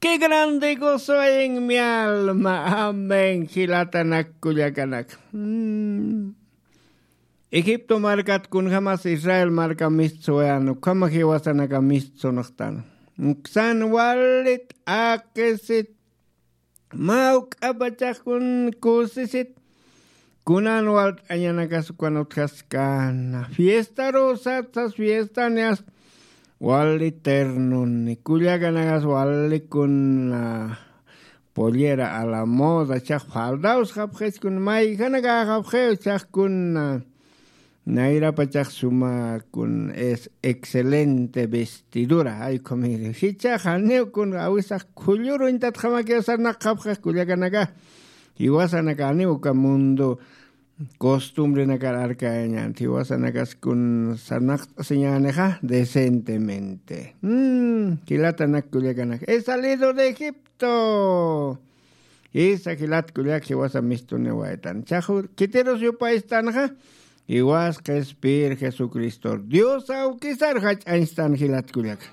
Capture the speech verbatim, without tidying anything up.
Qué grande gozo hay en mi alma. Amén. Jilatanak kullakanak. Mm. Egipto markat kunjamas Israel marka mistsuwayan ukhama jiwasanaka mistsunxtan. Uksan walit aqisit. Mawk'apachax kun kusisit. Kunan walt'añanakas ukan utjaskana fiestaru satsas fiestanias. Wali ternuni kullakanakas wali kun pollera a la moda chax faldaws japxiskun mayjanakaxapxiw chax kun nayrapachax suma kun es excelente vestidura ay comida jichax janiw kun awisax khulluruñtatxamakiw sarnaqxapxix kullakanaka. Jiwasanaka janiw uka mundo costumbrenakar arkayañan jiwasanakas kun sarnaqt'asiñänixa decentemente. Jilatanak kullakanaka he salido de egipto. Jisa jilat kullak jiwasa mistuniwaytan chaxu khitirus yupaystanxa. Jiwas qhispir jesucristor dios awkisar jach'añstan jilat kullaka.